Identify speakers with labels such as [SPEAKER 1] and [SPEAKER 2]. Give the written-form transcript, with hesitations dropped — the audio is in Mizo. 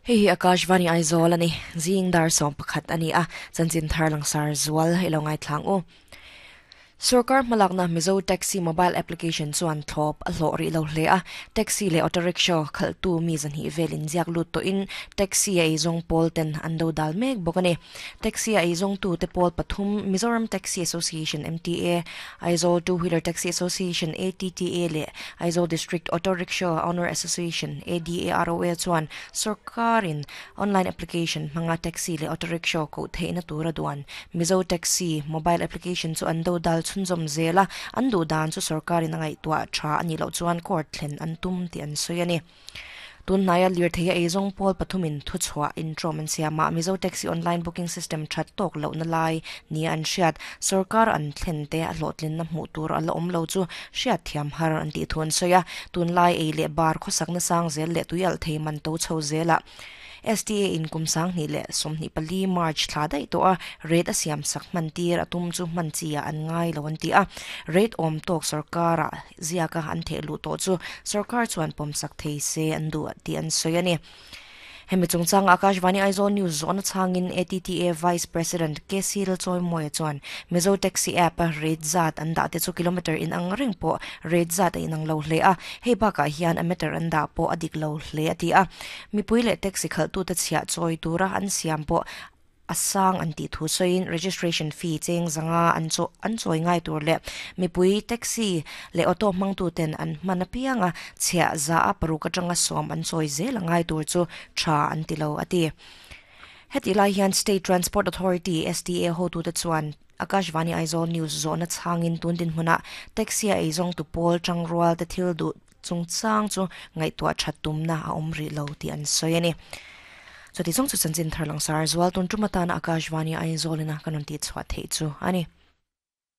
[SPEAKER 1] Hei hi Akashvani Aizawl a ni. Zing dar 11 a ni a, chanchin thar langsar zual i lo ngaithlang u. Sorkar hmalakna Mizo Taxi Mobile Application chuan thlawp a hlawh rih lo hle a, taxi leh auto rickshaw khalhtu mi 200 vel inziak lut tawhin taxi a eizawng pawl ten an do dal mek bawk a ni. Taxi a eizawngtute pawl pathum Mizoram Taxi Association, MTA, Aizawl Two Wheeler Taxi Association, ATTA, leh Aizawl District Auto Rickshaw Owner Association, ADAROA, chuan sorkarin online application hmanga taxi leh auto rickshaw koh theihna tura duan Mizo Taxi mobile application chu an dodal chhunzawm zel a, an duh dan chu sorkarin a ngaihtuah tha a nih loh chuan court thlen an tum tih an sawi a ni. Tun hnaia lirthei a eizawng pawl pathumin thuchhuah intrawm an siam a, Mizo Taxi online booking system that tawk lohna lai nia an hriat, sorkar an thlen te a hlawhtlinna hmuh tur a la awm lo chu hriat thiam har an tih thu an sawi a, tunlai ei leh bar khawsakna sang zel leh tui alh thei man to chho zelah STA in kum 2024 March thla daih tawh a, rate a siam sak hman tir a tum chu hman chi ah an ngai lo an ti a, rate awm tawk sorkar ah ziak a an theh luh tawh chu sorkar chuan pawmsak thei se an duh tih an sawi a ni. Hemi chungchanga Akashvani Aizawl News zawhna chhangin ATTA Vice President KC Lalchawimawia chuan Mizo Taxi App a rate zat an dah te chu kilometre inang reng pawh rate zat a inang lo hle a, hei bakah hian a meter an dah pawh a dik lo hle a ti a. Mipui leh taxi khalhtute chhiah chawi tura an siam pawh a sang an tih thu sawiin registration fee cheng zanga an chaw an chawi ngai tur leh mipui taxi leh auto hmangtuten an hman apianga chhiah za a paruk atanga sawm an chawi zel a ngai tur chu tha an ti lo a ti. Hetih lai hian State Transport Authority, STA, hotute chuan Akashvani Aizawl News zawhna chhangin tun dinhmunah taxi a eizawngtu pawl tangrual te thil duh chungchang chu ngaihtuah that tumna a awm rih lo tih an sawi a ni. Chuti zawng chu chanchin thar langsar zual tun tum atana Akashvani Aizawl ina kan rawn tihchhuah theih chu a ni.